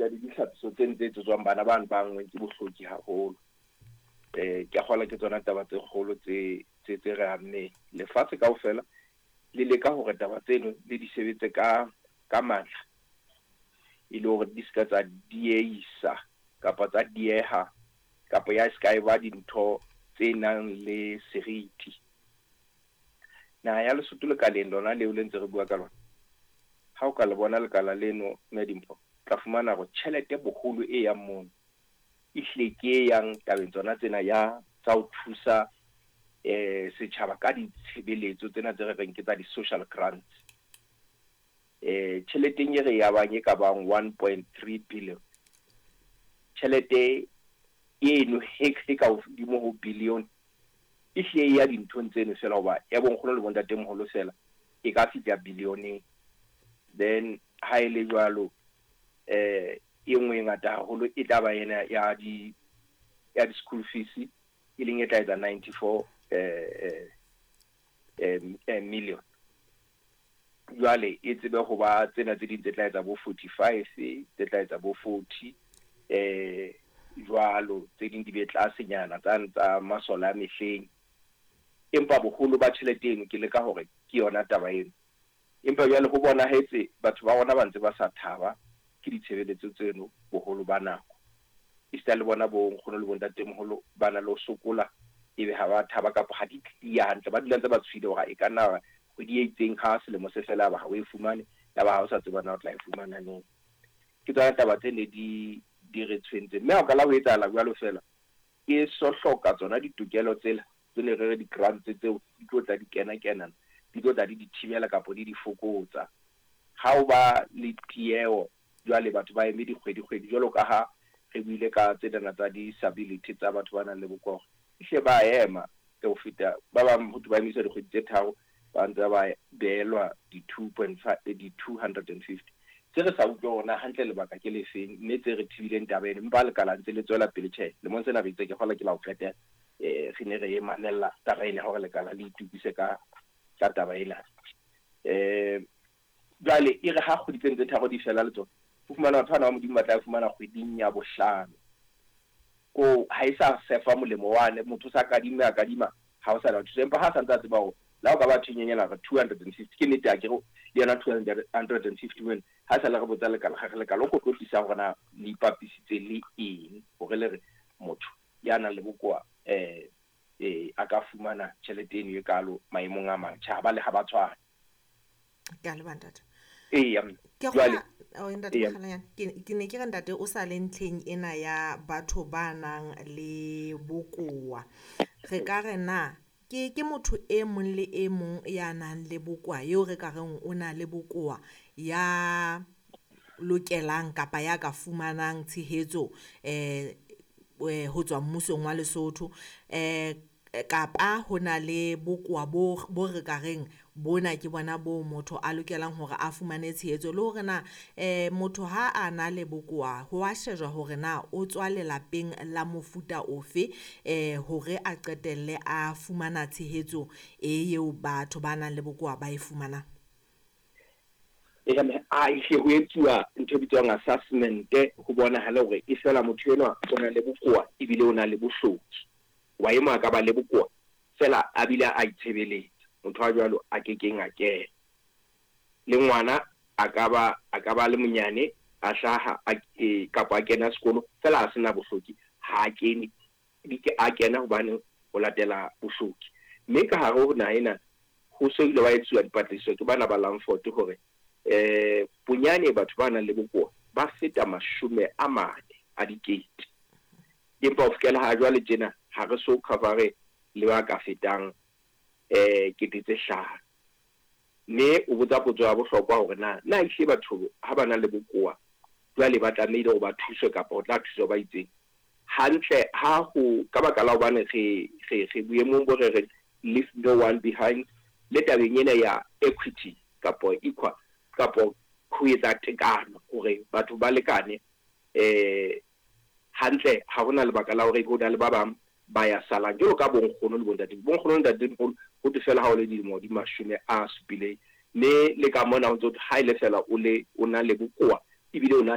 Esita le ditlhapiso tse tse etsetswang bana bano ba anngweng ke bohloki haholo. Ke a kgolwa ke tsona taba tse kgolo tse re ammeng. Lefatshe kaofela le leka hore taba tseno le di sebetse ka matla, e le hore di ska tsa dieisa kapa tsa dieha kapa ya ska e ba dintho tse nang le seriti. Naha ya Lesotho lekaleng lona leo le ntse re bua ka lona, ha o ka le bona lekala leno, Mme Dimpho, tla fumana hore tjhelete boholo e yang mono ehlile ke e yang tabeng tsona tsena ya tsa ho thusa setjhaba ka ditshebeletso tsena tse re reng ke tsa di-social grants. Tjheleteng e re e abang e ka bang 1.3 billion, tjhelete eno e ka hodimo ho billion e hlile e ya dinthong tseno fela, hoba ya bonkgono le bontatemoholo fela e ka fihla billioneng. Then ha e le jwalo, e nngwe e ngata haholo e tla ba ena ya di school fees, e leng e tla etsa 94 million. Jwale e tsebe ho ba tsena tse ding tse tla etsa bo 45, tse tla etsa bo 40, jwalo tse ding di be tlasenyana tsa masole a mehleng. Empa boholo ba tjhelete eno ke leka hore ke yona taba eno. Empa jwale ho bonahetse batho ba rona ba ntse ba sa thaba ke ditshebeletso tseno boholo ba nako. Esita le bona bo nkgono le bontatemoholo ba na le ho sokola, ebe ha ba thaba kapa ha di clear hantle, ba dula ntse ba tshohile hore e ka nna kgwedi e itseng ha selemo se fela ba ha o e fumane, ya ba ha o sa tseba na o tla e fumana neng. Ke tsona taba tse ne di re tshwentse. Mme ha o ka la ho etsahala jwalo fela, e so hloka tsona ditokelo tsela tse ne re re di-grants tseo di tlo tla di kena-kenana, di tlo tla di di thibela kapa di di fokotsa. Ha o ba le tieho jwale batho ba eme dikgwedi-kgwedi, jwalo ka ha re buile ka tsenana tsa disability tsa batho ba nang le bokowa, ehlile ba ema ho feta ba bang, ho thwe ba emiswa dikgwedi tse 3, ba ntse ba behelwa di 2.5, di 250. Tse re sa utlwe hore na hantle lebaka ke le feng, mme tse re thibileng taba eno, empa lekala ntse le tswela pele. Tjhe, lemong sena re itse ke kgola ke la ho qetela, re ne re e mamella taba ena hore lekala le itukise ka taba ena. Jwale e re ha kgwedi tse tse 3 di fela le tsona, o fumana batho bana ba Modimo ba tla fumana kgweding ya bohlano. Ko ha e sa sefa molemo wane, motho sa kadima a kadima, ha o sa na thuso. Empa ha sa ntse a tseba hore la o ka ba thwenyenyana re 250, ke nnete a ke re le yona 250 wena, ha sa le re botsa lekala, ga re lekala o ko tlotlisa hore na le ipapisitse le eng hore le re motho ya nang le bokowa a ka fumana tjhelete eno e kalo maemong a mang. Tjhe, ha ba le ha ba tshwane. Ke a leboha ntate. Eya, Ke jwale kgola, ntate Mokgalanyane, ke ne ke re ntate o sa le ntlheng ena ya batho ba nang le bokowa. Re ka re na ke motho e mong le e mong ya nang le bokowa, eo re ka reng o na le bokowa, ya lokelang kapa ya ka fumanang tshehetso ho tswa mmusong wa Lesotho, kapa ho na le bokowa bo re ka reng bona ke bona bo motho a lokelang hore a fumane tshehetso, le hore na motho ha a na le bokowa ho a shejwa hore na o tswa lelapeng la mofuta ofe, hore a qetelle a fumana tshehetso e eo batho ba nang le bokowa ba e fumanang. A ehlile ho etsuwa ntho e bitswang assessment, ho bonahala hore e fela motho enwa o na le bokowa ebile o na le bohloki. Wa e mong a ka ba le bokowa fela a bile a itshebeletsa, motho a jwalo a kekeng a kena. Le ngwana a ka ba le monyane a hlaha kapa a kena sekolo fela a sena bohloki, ha a kene, a kena hobane ho latela bohloki. Mme ka hare ho naha ena ho so ile wa etsuwa dipatlisiso ke bana ba Langford hore bonyane batho ba nang le bokowa ba feta 40 000. Empa ho fihlela ha jwale tjena ha re so cover le ba ka fetang 5,000. Mme o botsa potso ya bohlokwa hore na ehlile batho ha ba na le bokowa jwale ba tlamehile hore ba thuswe kapa ho tla thuswa ba itseng. Hantle ha ho ka baka la hobane re boemong bo re reng leave no one behind, le tabeng ena ya equity kapa equal kapa ho etsa tekano hore batho ba lekane, hantle ha hona lebaka la hore ho na le ba bang ba ya salang jwalo ka bonkgono le bontate. Bonkgono le ntatemoholo ho thwe fela ha o le dilemo di 70, mme le ka mona ho ntso ha ile fela o le o na le bokowa ebile o na